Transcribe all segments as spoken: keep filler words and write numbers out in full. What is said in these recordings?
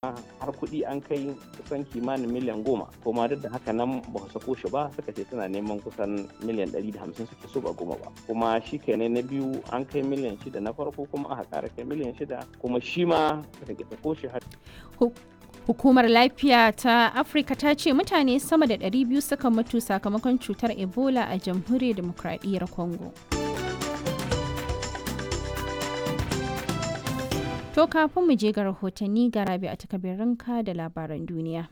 Har kuɗi an kai kusan kimanin miliyan goma, kuma duk da haka nan ba su sako shi ba. Suka ce suna neman kusan miliyan ɗari da hamsin suke so, ba goma ba. Kuma shi kenan, na biyu an kai miliyan shida na farko, kuma aka ƙara kai miliyan shida, kuma shi ma suka ƙi sako shi har Hukumar Lafiya ta Afirka ta ce mutane sama da ɗari biyu suka mutu sakamakon cutar Ebola a Jamhuriyar Demokradiyyar Congo. To kafin mu je ga rahotanni, ga Rabi a takabirinka da labaran duniya.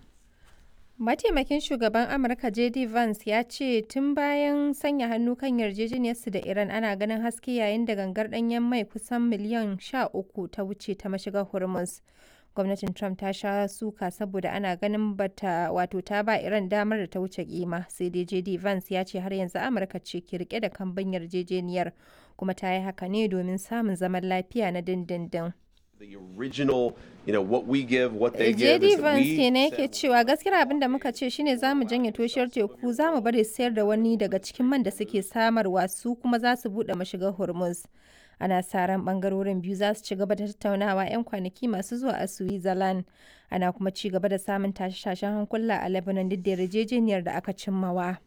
Mataimakin shugaban Amurka J D Vance ya ce tun bayan sanya hannu kan yarjejeniyarsu da Iran ana ganin haske, yayin da gangar ɗanyen mai kusan miliyan sha uku ta wuce ta mashigar Hormuz. Gwamnatin Trump ta sha suka saboda ana ganin bata wato ta ba Iran damar da ta wuce kima, sai dai J D Vance ya ce har yanzu Amurka ce ke rike da kambun yarjejeniyar, kuma ta yi haka ne domin samun zaman lafiya na dindindin. The original, you know, what we give, what they give J D is that Vance we kenan yake cewa gaskiyar abin da muka ce shine za mu janye toshiyar teku, za mu bari sayar da wani daga cikin man da suke samarwa, su kuma za su buɗe mashigar Hormuz. Ana sa ran bangarorin biyu za su ci gaba da tattaunawa 'yan kwanaki masu zuwa a Switzerland. Ana kuma ci gaba da samun tashe-tashen hankula a Lebanon duk da yarjejeniyar da aka cimmawa.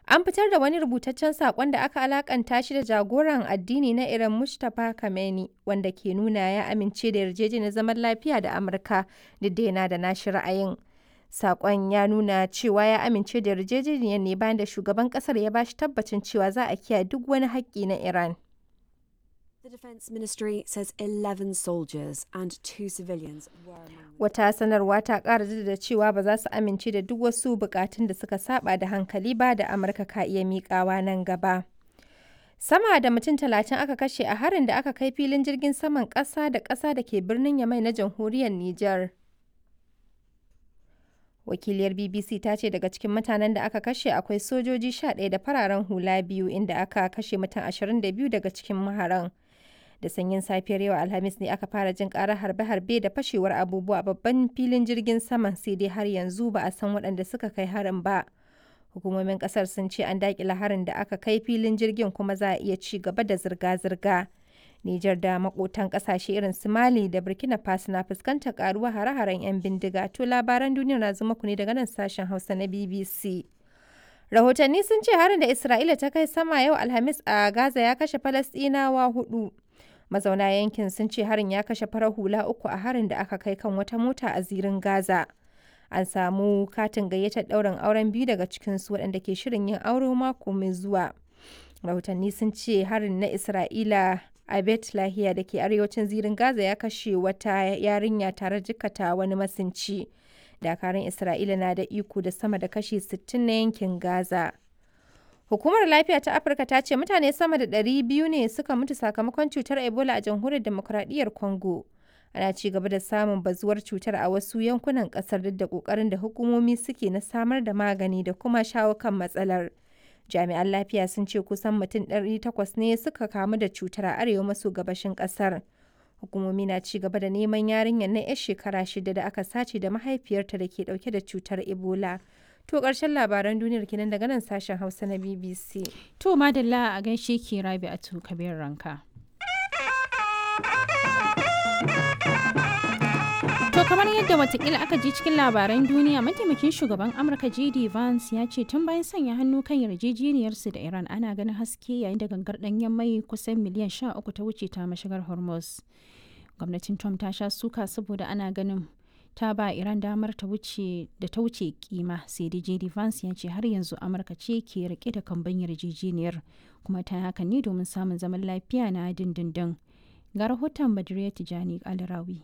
An fitar da wani rubutaccen saƙon da aka alakanta shi da jagoran addini na Iran Mujtaba Khamenei, wanda ke nuna ya amince da yarjejeniyar zaman lafiya da Amurka duk da yana da nashi ra'ayin. Saƙon ya nuna cewa ya amince da yarjejeniyar ne bayan da shugaban ƙasar ya bashi tabbacin cewa za a kiyaye duk wani haƙƙi na Iran. The Defence Ministry says eleven soldiers and two civilians were among the Wata sanarwa ta ƙara jaddada cewa ba za su amince da duk wasu bukatun da suka saba da hankali ba da Amurka ka iya miƙawa nan gaba. Sama da mutum talatin aka kashe a harin da aka kai filin jirgin saman ƙasa da ƙasa da ke birnin Yamai na jamhuriyar Nijar. Wakiliyar B B C ta ce daga cikin mutanen da aka kashe akwai sojoji sha ɗaya da fararen hula biyu, inda aka kashe mutum ashirin da biyu daga cikin maharan. Da sanyin safiyar yau Alhamis ne aka fara jin karar harbe-harbe da fashewar abubuwa a babban filin jirgin saman, sai dai har yanzu ba a san waɗanda suka kai harin ba. Hukumomin kasar sun ce an daƙile harin da aka kai filin jirgin, kuma za a iya ci gaba da zirga-zirga. Nijar da makotan kasashe irin su Mali da Burkina Faso na fuskantar karuwa hare-haren 'yan bindiga. To labaran duniya na zuma ku ne daga nan sashen Hausa na B B C. Rahotanni sun ce harin da Isra'ila ta kai sama yau Alhamis a Gaza ya kashe Falasɗinawa hudu. Mazauna yankin sun ce harin ya kashe farar hula uku a harin da aka kai kan wata mota a zirin Gaza. An samu katin gayyatar ɗaurin auren biyu daga cikinsu waɗanda ke shirin yin aure mako mai zuwa. Rahotanni sun ce harin na Isra'ila a Bet Lahiya da ke arewacin zirin Gaza ya kashe wata yarinya tare jikata wani masinci. Dakarun Isra'ila na da iko da sama da kashi sittin na yankin Gaza. Hukumar Lafiya ta Afirka ta ce mutane sama da ɗari biyu ne suka mutu sakamakon cutar Ebola a Jamhuriyar Demokradiyyar Congo. Ana ci gaba da samun bazuwar cutar a wasu yankunan kasar duk da kokarin da hukumomi suke na samar da magani da kuma shawo kan matsalar. Jami'an lafiya sun ce kusan mutum ɗari takwas ne suka kamu da cutar a arewa maso gabashin kasar. Hukumomi na ci gaba da neman yarinyar na 'yar shekara shida da aka sace da mahaifiyarta da ke dauke da cutar Ebola. To ƙarshen labaran duniyar kenan daga nan sashen Hausa na B B C. To madalla, a gaishe ki Rabi a kabir ranka. To kamar yadda watakila aka ji cikin labaran duniya, mataimakin shugaban Amurka J D Vance ya ce tun bayan sanya hannu kan yarjejeniyarsu da Iran ana ganin haske, yayin da gangar ɗanyen mai kusan miliyan sha uku ta wuce ta mashigar Hormuz. Gwamnatin Trump ta sha suka saboda ana ganin ta ba Iran damar ta wuce da ta wuce kima, sai dai J D Vance ya ce har yanzu Amurka ce ke rike da kamban yarjejeniyar, kuma ta haka ne domin samun zaman lafiya na dindindin. Ga rahoton Badriya Tijani Alrawi.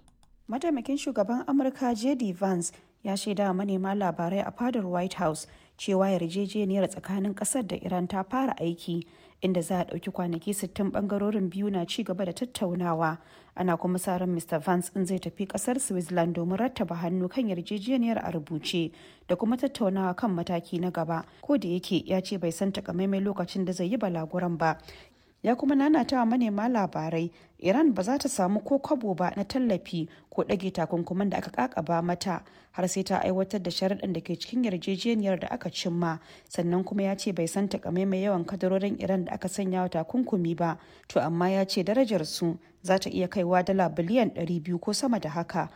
Mataimakin shugaban Amurka J D Vance ya shaida wa manema labarai a fadar White House cewa yarjejeniyar tsakanin kasar da Iran ta fara aiki, inda za a ɗauki kwanaki sittin bangarorin biyu na ci gaba da tattaunawa. Ana kuma sa ran Mister Vance in zai tafi kasar Switzerland domin rattaba hannu kan yarjejeniyar a rubuce da kuma tattaunawa kan mataki na gaba. Ko da yake ya ce bai san takamaiman lokacin da zai yi balaguran ba. Ya kuma nanata wa manema labarai Iran ba za ta samu ko kwabo ba na tallafi ko ɗage takunkuman da aka kakaba mata har sai ta aiwatar da sharaɗin da ke cikin yarjejeniyar da aka cimma. Sannan kuma ya ce bai san takamaimai yawan kadarorin Iran da aka sanya wa takunkumi ba, to amma ya ce darajar su za ta iya kaiwa dala biliyan ɗari biyu ko sama da haka.